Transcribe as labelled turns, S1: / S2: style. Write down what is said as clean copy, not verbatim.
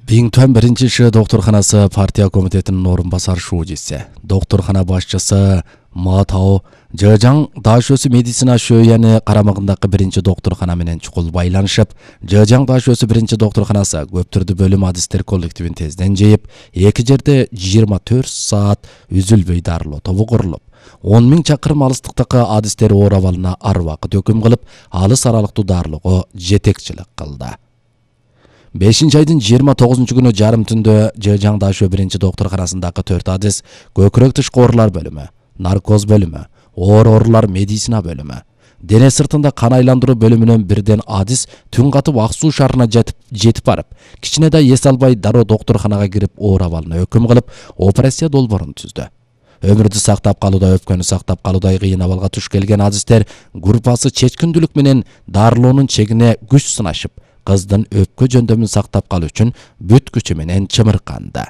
S1: Биңтөн 1-Ш докторканасы партия комитетинин орун басар шуудиси, докторкана башчысы Матао Жыжаң Дашөсү медицина шөйяны карамагындагы 1-Ш докторкана менен чукул байланышып, Жыжаң Дашөсү 1-Ш докторканасы көп түрдүү бөлүм адистер коллективин тезден жыйып, эки жерде 24 саат үзүлбөй дарылоо тобу курулуп, 10 000 чакырым алыстыктагы адистер оор абалына ар убакыт өкүм кылып, алыс аралыктуу дарылоого жетекчилик кылды. 5-айдын 29-күнү жарым түндө Жыжаң Дашө 1-Ш докторканасындагы 4 адис көкүрөк тышкы оорулар бөлүмү, наркоз бөлүмү, оор оорулар медицина бөлүмү, дене сыртында кан айландыруу бөлүмүнөн бирден адис түн катып Ак Суу шаарына жетип барып, кичине да эс албай дароо докторканага кирип оор абалына өкүм кылып, операция долбоорун түздү. Өмүрдү сактап калууда, өпкөнү сактап калуудай кыйын абалга туш келген адистер группасы чечкиндүүлүк менен дарылоонун чегине күч сынашып, кыздын өпкө жөндөмүн сактап калуу үчүн бүт күчү менен чымырканды.